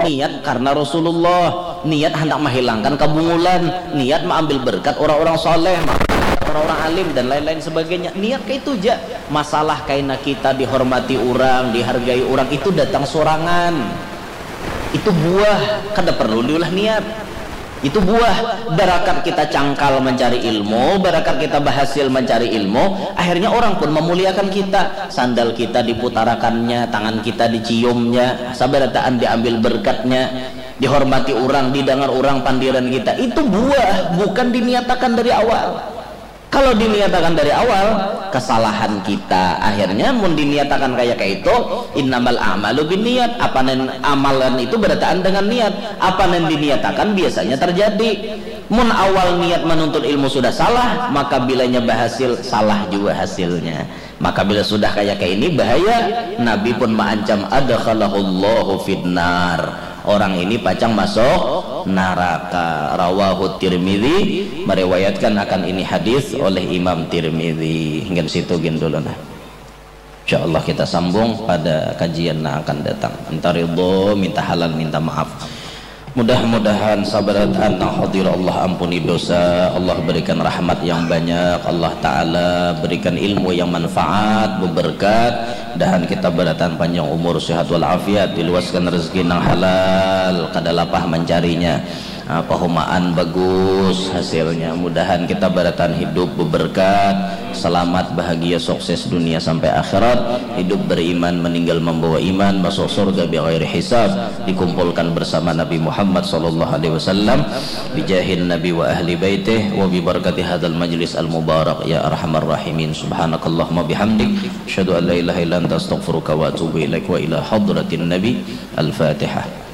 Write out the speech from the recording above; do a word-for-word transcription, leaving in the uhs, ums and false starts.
Niat karena Rasulullah, niat hendak menghilangkan kebungulan, niat mengambil berkat orang-orang soleh, orang-orang alim dan lain-lain sebagainya. Niat kayak itu aja. Masalah kaina kita dihormati orang, dihargai orang itu datang sorangan. Itu buah, kada perlu diulah niat. Itu buah barakat kita cangkal mencari ilmu, barakat kita berhasil mencari ilmu, akhirnya orang pun memuliakan kita. Sandal kita diputarakannya, tangan kita diciumnya, sabarataan diambil berkatnya, dihormati orang, didengar orang pandiran kita. Itu buah, bukan diniatakan dari awal. Kalau diniatakan dari awal, kesalahan kita. Akhirnya mun diniatakan kayak kayak itu, innamal a'malu binniat. Apa nen amalan itu berataan dengan niat. Apa nen diniatakan biasanya terjadi. Mun awal niat menuntut ilmu sudah salah, maka bilanya berhasil, salah juga hasilnya. Maka bila sudah kayak kayak ini bahaya, Nabi pun mengancam adkhalahullahu finnar. Orang ini pacang masuk neraka. Rawahu Tirmidzi, meriwayatkan akan ini hadis oleh Imam Tirmidzi. Hingga situ gin dulu nah. Insya Allah kita sambung pada kajian yang akan datang. Minta ridho, minta halal, minta maaf. Mudah-mudahan sabarataan nang hadir Allah ampuni dosa, Allah berikan rahmat yang banyak, Allah Ta'ala berikan ilmu yang manfaat, beberkat, dahan kita barataan panjang umur, sehat walafiat, diluaskan rezeki nang halal, kada lapah mencarinya. Ah, pahumaan bagus hasilnya. Mudahan kita barataan hidup beberkat, selamat, bahagia, sukses dunia sampai akhirat, hidup beriman, meninggal membawa iman, masuk surga bi ghairi hisab, dikumpulkan bersama Nabi Muhammad sallallahu alaihi wasallam, bijahin Nabi wa ahli baitih, wa bi barakati hadzal majlis al mubarak, ya arhamar rahimin. Subhanakallahumma bihamdik, asyhadu an la ilaha illa anta, astaghfiruka wa atubu ilaik, wa ila hadratin Nabi. Al-Fatihah.